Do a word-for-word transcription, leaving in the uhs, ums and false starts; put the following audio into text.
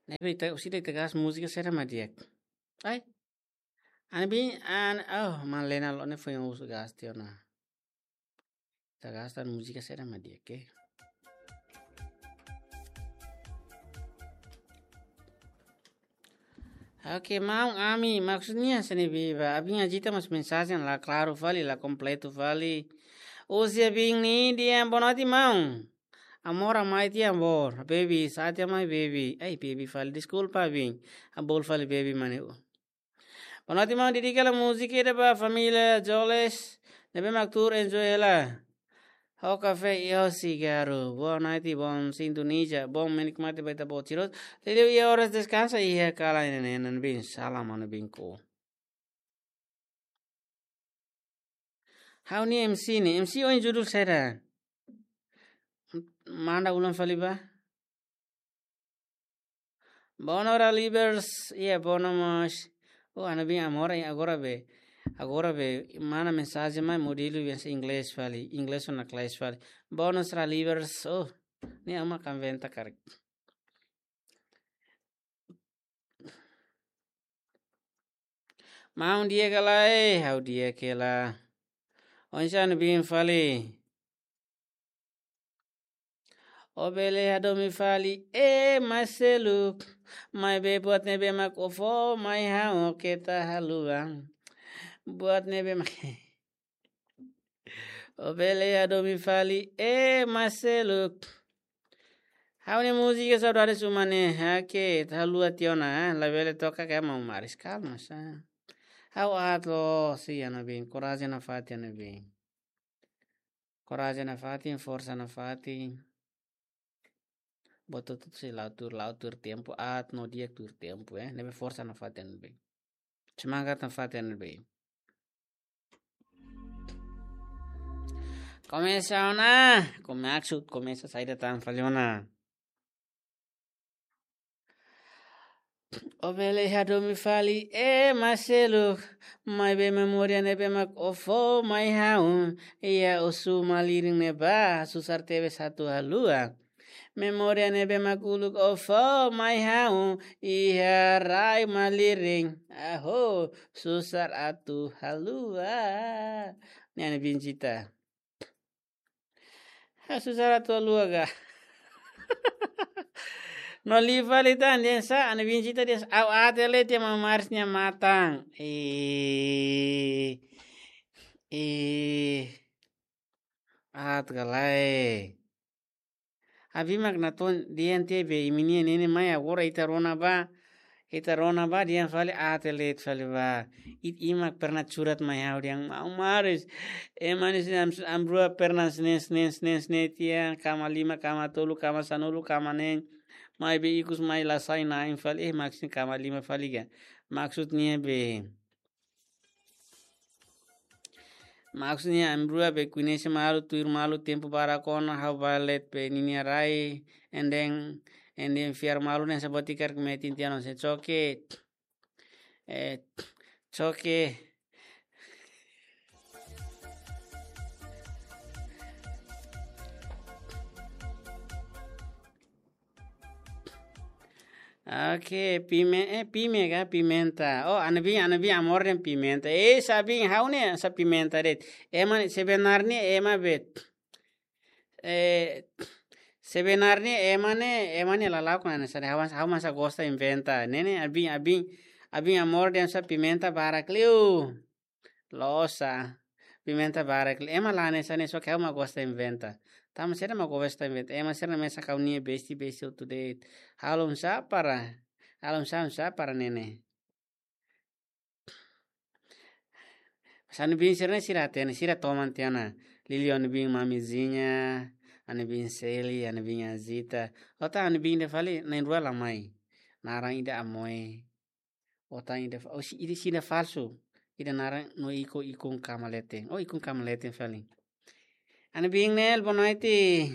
Ne'ebé ita, orsida ita gasta múzika saida mak di'ak? Ai. Ha'u-nia biin, ha'u-nia, oh, Malena loos ne'e foin uza gasta tiha ona. Ita gasta múzika saida mak di'ak, oke? Oke, maun, ami, maksudnya sini biba, abin Ajita mós mensajen la klaru fali, la kompletu fali. Husi abin Nidia, boa noite, maun. Amor, amai tiha amor, baby, sá tiha mai baby. Ai, baby fali, deskulpa, abin. Abol fali, baby, mane. Boa noite, maun, dedika hela múzika ida ba família Joles ne'ebé mak tuur enjoy hela ho kafé iha sigarru. Boa noite, bom sintonia, bom menikmati ba ita-boot sira hotu. Liuliu iha oras deskansa iha kalan ne'e, ha'u-nia biin, salam ha'u-nia biin ku. Ha'u-nia M C ne'e, M C ohin judul saida? Manda ulang fali ba. Bono Ralivers, iha Bono mós. Oh, ha'u-nia biin Amor, agora be. Agora be, mana mensajen mai modelu bahasa Inglés fali, Inglés ona kelas fali. Bono Ralivers, oh, ne'e ha'u mak inventa karik. Maun di'ak ka lae, ha'u di'ak hela. Oinsá ha'u-nia biin fali? Ó bele hadomi fali, ema seluk. Maibé buat ne'ebé mak ó fó mai ha'u keta haluha. Buat ne'ebé mak ó bele hadomi fali, ema seluk. Ha'u-nia múzika Saudades Uma ne'e, oke, ita haluha tiha ona, labele toka karik maun Maris, kalma sá. Ha'u aat loos, ha'u-nia biin, korajen nafatin, ha'u-nia biin. Korajen nafatin, forsa nafatin. Buat hotu-hotu sei la'o tuur, la'o tuur tempu, aat no di'ak tuur tempu, eh. Ne'ebé forsa nafatin, ha'u-nia biin. Semangat nafatin, ha'u-nia biin. Komesa ona, komesa, komesa saida tan fali ona. Ó bele hadomi fali, ema seluk, maibé memória ne'ebé mak ó fó mai ha'u, iha husu malirin ne'ebá, susar tebes atu haluha. Memória ne'ebé mak uluk ó fó mai ha'u, iha rai malirin, aho, susar atu haluha. Ne'e ha'u-nia biin Jita. Ha'u susar atu haluha ka. No liu fali tan, dehan sá, ha'u-nia biin Jita dehan sá, ha'u aat hela tiha maun Maris nia matan. Eh, eh, aat ka lae. Abin mak natoon dehan tiha be imi-nia ne'e ne'e mai agora ita rona ba. Ita rona ba dehan fali aat hela fali ba. Ita, imi mak pernah curhat mai ha'u dehan maun Maris. Ema ne'e sini am, am rua pernah sne, sne, sne, sne tiha. Kama lima, kama tolu, kama sanulu, kama neen. Maibé ikus mai la sai na'in fali. Eh, maksudnya kama lima fali ka. Maksudnya be. Maksudnya, ami rua be koñese malu, tuir malu, tempu barak ona, ha'u bá let be ninia rai, and then, and then fiar malu, ne'e sabotikar ke metin tiha ona, se choke. Eh, choke. Oke, pime, eh, pime ka, pimenta. Oh, ha'u-nia biin, ha'u-nia biin Amor dehan pimenta. Eh, sá biin, ha'u ne'e sá pimenta de'it. Ema ne'e sebenarnya ema be. Eh, sebenarnya ema ne'e, ema ne'e la lakon hanesan ne'e. Ha'u, ha'u mak sá gosta inventa. Ne'e ne'e, ha'u-nia biin, ha'u-nia biin, ha'u-nia biin Amor dehan sá pimenta barak liu. Loos sá. Pimenta barak liu. Ema la hanesan ne'e, só ke ha'u mak gosta inventa. Tanba sira mak gosta inventa. Ema sira-ne'e mesak ha'u-nia besti, besti hotu de'it. Halo oinsá para. Halo oinsá, oinsá para ne'e ne'e. Mas ha'u-nia biin sira-ne'e sira hatene, sira toman tiha ona. Liuliu ha'u-nia biin Mamizinha, ha'u-nia biin Seli, ha'u-nia biin Azita. Ota ha'u-nia biin ida fali, na'in-rua la mai. Naran ida Amoe. Ota ida fa-, oh, si, ida sira falsu. Ida naran no iko, ikun kama leten. Oh, ikun kama leten fali. Ha'u-nia biin Nel, boa noite.